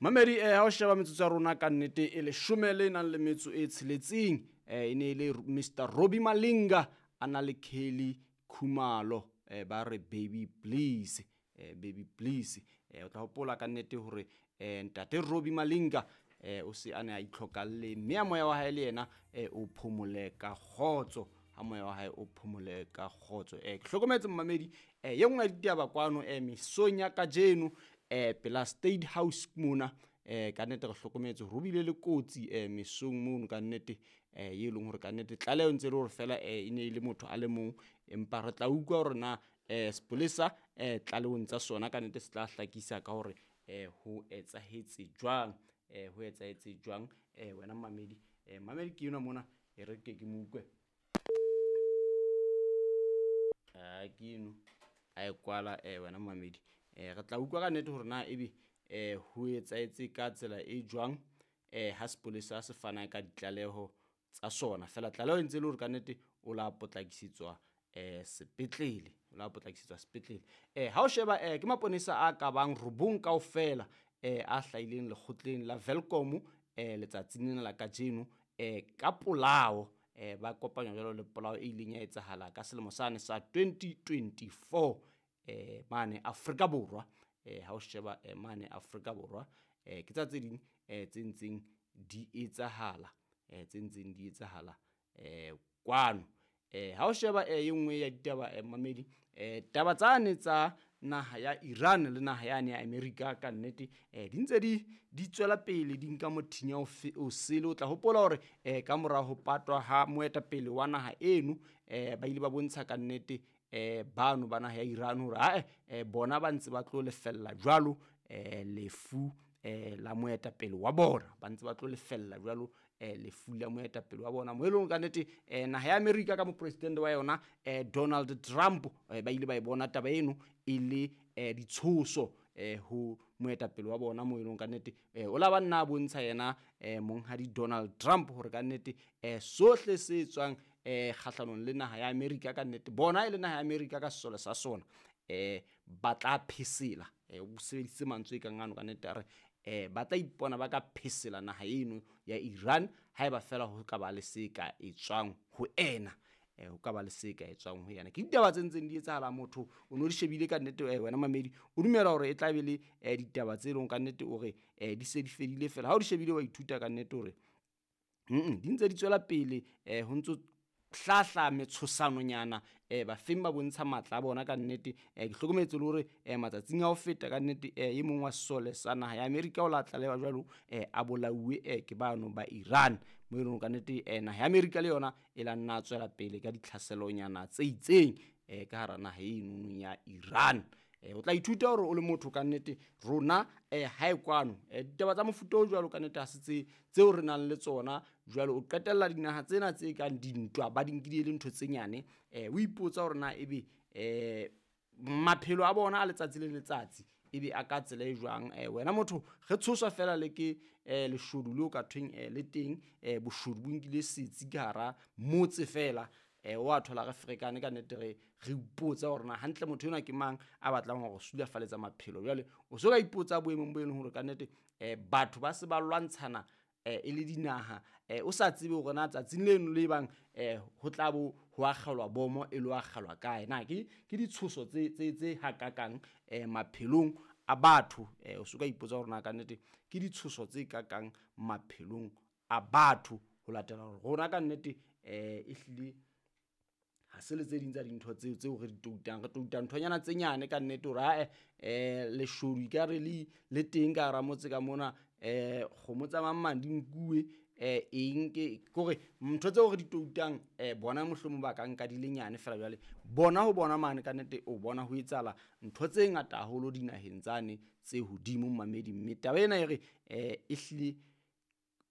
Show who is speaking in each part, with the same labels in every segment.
Speaker 1: Mamedi ha o sheba metsotso ya rona ka nnete e leshome le nang le metso e tsheletseng, e ne e le Mr Robbie Malinga a na le Kelly Khumalo, ba re baby please, baby please. O tla hopola ka nnete hore ntate Robbie Malinga o se a ne a itlhokalle, mme a moya wa hae le yena o phomole ka kgotso, ha moya wa hae o phomole ka kgotso. Ke hlokometse mmamedi, ye nngwe ya ditaba kwano mesong ya kajeno, pela State House mona, ka nnete re hlokometse hore ho bile le kotsi mesong mono ka nnete, ye leng hore ka nnete tlaleho ntse le hore fela e ne e le motho a le mong, empa re tla utlwa hore na sepolesa tlalehong tsa sona ka nnete se tla hlakisa ka hore ho etsahetse jwang, ho etsahetse jwang. Wena mmamedi, mmamedi ke enwa mona, e re ke mo utlwe. Ke eno a e kwala, wena mmamedi. Re tla utlwa ka nnete hore na ebe ho etsahetse ka tsela e jwang, ha sepolesa se fana ka ditlaleho tsa sona. Fela tlaleho e ntse e le hore ka nnete o la potlakisetswa sepetlele, o la potlakisetswa sepetlele. Ha o sheba ke maponesa a ka bang 9 kaofela, a hlahileng lekgotleng la Welkom letsatsing lena la kajeno, ka polao, ba kopanywa jwalo le polao e ileng ya etsahala ka selemo sane sa 2024, mane Afrika Borwa. Ha o sheba mane Afrika Borwa, ke tsa tse ding tse ntseng di etsahala, tse ntseng di etsahala kwano. Ha o sheba e nngwe ya ditaba, mmamedi, taba tsane tsa naha ya Iran le naha yane ya Amerika ka nnete, di ntse di tswela pele di nka mothinya o sele. O tla hopola hore ka mora ho patwa ha moetapele wa naha eno, ba ile ba bontsha ka nnete bano ba naha ya Iran hore ae, bona ba ntse ba tlo lefella jwalo lefu la moetapele wa bona, ba ntse ba tlo lefella jwalo lefu la moetapele wa bona. Mo e leng ka nnete naha ya Amerika ka mopresidente wa yona Donald Trump, ba ile ba e bona taba eno e le ditshoso ho moetapele wa bona, mo e leng ka nnete o la ba nna a bontsha yena monghadi Donald Trump hore ka nnete sohle se tswang kgahlanong le naha ya Amerika ka nnete bona e le naha ya Amerika ka sesole sa sona, ba tla phesela, o sebedisitse mantswe e kang ano ka nnete a re ba tla ipona ba ka phesela naha eno ya Iran haeba fela ho ka ba le se ka etswang ho ena, ho ka ba le se ka etswang ho yena. Ke ditaba tse ntseng di etsahala, motho o no di shebile ka nnete, wena mamedi o dumela hore e tla be le ditaba tse leng ka nnete o re di se di fedile fela. Ha o di shebile wa ithuta ka nnete hore di ntse di tswela pele, ho ntso hlahla metshosanonyana, bafeng ba bontsha matla a bona ka nnete. Ke hlokometse le hore matsatsing a ho feta ka nnete, e mong wa sesole sa naha ya Amerika o la tlalewa jwalo, a bolauwe ke bano ba Iran, mo e leng ka nnete naha ya Amerika le yona e la nna tswela pele ka ditlhaselonyana tse itseng ka hara naha eno ya Iran. O tla ithuta hore o le motho ka nnete rona hae kwano, ditaba tsa mofuta o jwalo ka nnete ha se tse tseo re nang le tsona jwalo. O qetella dinaha tsena tse kang dintwa ba di nkile le ntho tse nyane, o ipotsa hore na ebe maphelo a bona a letsatsi le letsatsi ebe a ka tsela e jwang. Wena motho re tshoswa fela le ke leshodu leo ka thweng le teng, boshodu bo nkile setsi ka hara motse fela, wa thola re ferekane ka nnete, re ipotsa hore na hantle motho enwa ke mang a batlang hore sulafaletsa maphelo. Jwale o so ka ipotsa boemong bo e leng hore ka nnete batho ba se ba lwantshana e le dinaha, o sa tsebe hore na tsatsing leno le bang ho tla bo ho akgelwa bomo e lo akgelwa kae. Na ke ditshoso tse hakakang maphelong a batho, o so ka ipotsa hore na ka nnete ke ditshoso tse kakang maphelong a batho, ho latela hore rona ka nnete ehlile ha se le tse ding tsa dintho tseo tseo re di toutang. Re touta nthonyana tse nyane ka nnete hore ae leshodu ekare le teng ka hara motse ka mona, kgomo tsa mang mang di nkuwe, eng ke kore ntho tseo re di toutang, bona mohlomong ba ka nka di le nyane fela. Jwale bona ho bona mane ka nnete o bona ho etsahala ntho tse ngata haholo dinaheng tsane tse hodimo mmamedi. Mme taba ena e re ehlile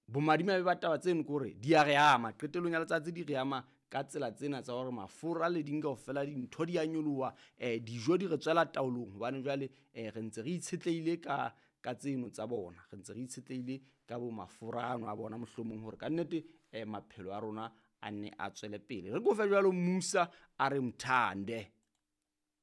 Speaker 1: bomadimabe ba taba tseno ke hore di a re ama qetellong ya letsatsi, di re ama ka tsela tsena tsa hore mafura le ding kaofela dintho di a nyoloha, dijo di re tswela taolong hobane jwale re ntse re itshetlehile ka tseno tsa bona, re ntse re itshetlehile ka bo mafura ano a bona mohlomong hore ka nnete maphelo a rona a nne a tswele pele. Re kofe jwalo Musa a re mthande.